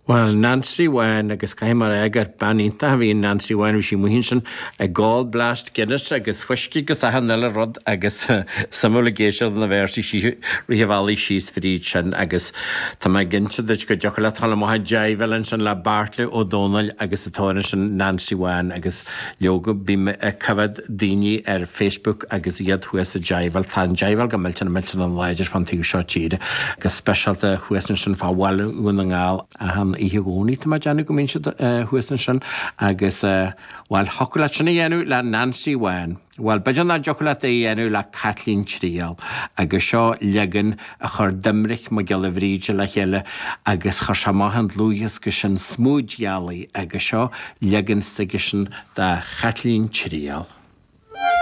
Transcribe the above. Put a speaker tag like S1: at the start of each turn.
S1: Bhuel, Nancy Bhán, agus caithfidh mé a rá gur bean iontach a bhí in Nancy Bhán, bhí sí amuigh ansin ag ól blast Guinness agus fuiscí agus achan uile rud agus suimiúil ag éisteacht lena véarsaí sí rith an bhealaigh síos fríd sin agus tá mé cinnte duit go dtiocfadh leat dhul amach ag jaiveáil ansin le Beairtle Ó Domhnaill agus an t-amhrán sin Nancy Bhán agus leoga bím ag coimhéad daoine ar Facebook agus iad thuas ag jaiveáil. Tá an jaiveáil go millteanach millteanach láidir fán taobh seo tíre, go speisialta thuas ansin fá bhaile Dhún na nGall. Achan oíche Dhomhnaigh tá mé ag déanamh go mbíonn siad thuas ansin agus, bhuel, thiocfadh leat sin a dhéanamh le Nancy Bhán. Bhuel, b'fhéidir nach dtiocfadh leat é a dhéanamh le Caitlín Triail agus seo leagan a chuir Doimnic Mac Giolla Bhríde le chéile agus chuir sé amach an dlúthdhiosca sin Smúid Ghealaí agus seo leagan s'aigesean de Chaitlín Triail.